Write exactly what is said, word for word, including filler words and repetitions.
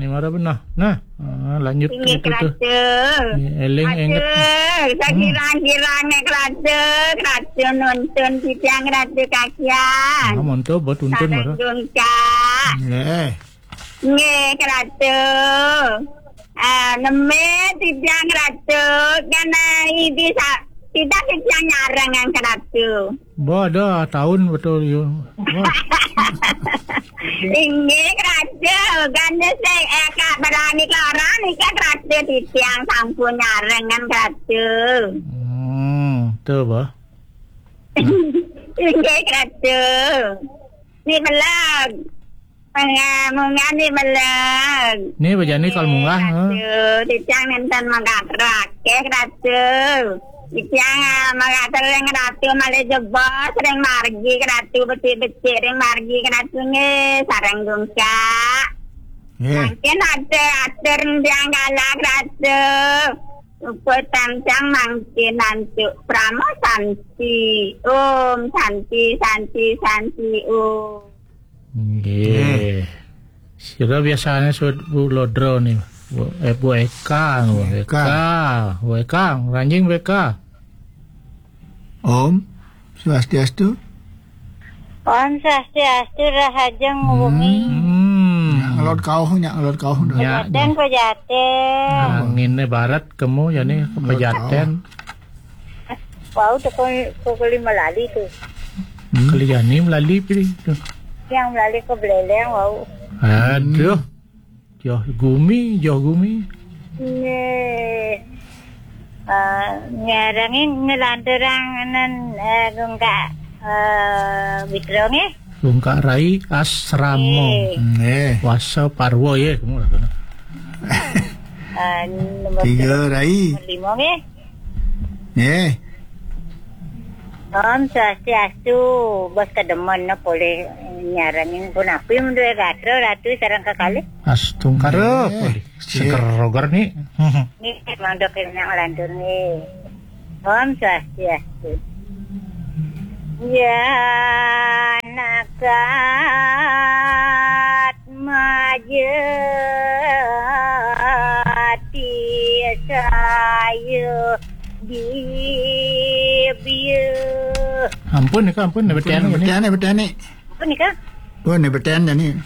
Ni mara benah. Nah, ah, lanjut. Inggih, itu tuh. Kratu. Ni eling inget. Aduh, sakirang-kirang nek kratu, kratu nuntun titiang kratu kakian. Ah, monto buat tuntun mara. Sareng dungkak. Nggih. Nggih, kratu. Ah, neme titiang kratu, kan, ah, ibi sa-, kita titiang nyareng yang kratu. Bodoh, tahun betul, yo. Wah. Inggih, kratu. Kan sing, eh, Kak Berani Klara nika kratu titiang sampun nyareng kan kratu. Hmm, tuh, bah. Inggih, kratu. Ni belag. Munggah, munggah ni belag. Ni bejani kal munggah, ha? Kratu, titiang nenten mengkatro akeh, kratu. Titiang, ah, mengkatro ring kratu malih jebos, ring margi kratu, becik-becik ring margi kratu nggih, sareng dungkak. Nggih. Mangkin atur, atur tiang kala kratu. Uput tansang mangkin antuk prama santi. Om santi, santi, santi, om. Nggih. Nggih. Sira biasane sebut Bu Lodro ni. Bu, eh, Bu Eka, Bu Eka. Eka. Bu Eka, ranjing Bu Eka. Om Swastiastu. Om Swastiastu, rahajeng wengi. Hmm. Nyak ngelod kauh, nyak ngelod kauh. Nyak. Pejaten, pejaten. Angine barat kemu jani ke pejaten. Wau teko, teko lima lali tuh. Hmm. Keliani melali pilih tuh. Yang melali ke Beleleng wau. Aduh. Joh gumi, joh gumi. Nggih. Eh, nyarangi ngelanturang nen, eh, gungkak, eh, Witro nggih. Gungkak Rai Asrama. Nggih. Nggih. Wasa Parwa ya, kamu lah kena. Eh, nomor tiga, Rai. Nomor lima nggih. Nggih. Om Swastiastu, bos kedemen no polih nyarengin punapi menduwe gatra ratu sareng kekalih. Astungkara. Nggih. Polih. Nggih. Seger roger ni. Ni mangda kenyang lantur ni. Om Swastiastu. Ya nakat majati saya dibia. Ampun nika, ampun, nebetian. Ampun, nebetian, nebetian ni. Ampun nika. Pun nebetian ni.